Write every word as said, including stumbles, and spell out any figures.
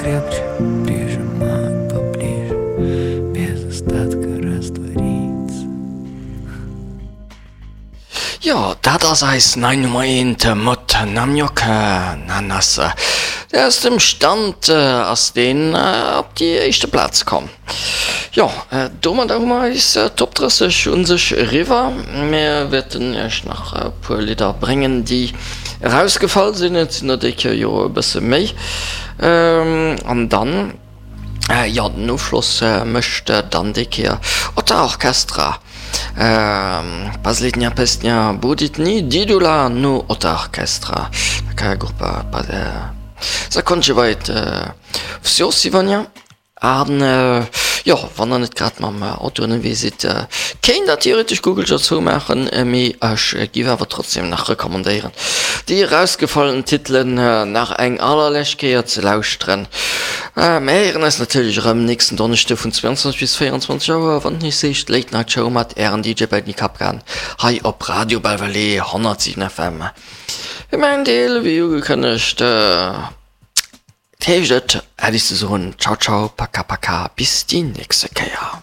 Крепче прижимаю поближе, без остатка раствориться. Jo, dat ass eis nei Nummer eent mat Namjok Nanas. Aus dem Stand ass deen op déi éischte Plaz komm. Jo, domadder hu mer eis Top drësseg un sech eriwwer. Mir wäerten iech nach e puer Lidder bréngen, déi erausgefall sinn. Et sinn der déi Kéier jo e bësse méi. An dann, jo, den Ofschloss mécht dann déi Kéier Otta Orchestra. Последняя песня будет не Дидула, но Otta Orchestra. Такая группа заканчивает всё сегодня. An jo, wann der net grad mam Auto ënnerwee sidd, kéint der theoretesch Google jo zoumaachen, mee ech giff awer trotzdem nach recommandéieren, déi erausgefallen Titelen nach eng allerlescht Kéier ze lauschteren. Mir héieren eis natierlech erëm nächsten Donneschde vun zweiundzwanzeg bis véierundzwanzeg Auer, wann et nees heescht Late Night Show mat ären D J Benny Kapkan hei op Radio Belval honnertsiwen F M. Fir mäin Deel, wéi ugekënnegt, heescht et Äddi ze soen, Ciao ciao, paka paka, bis déi nächste Kéier.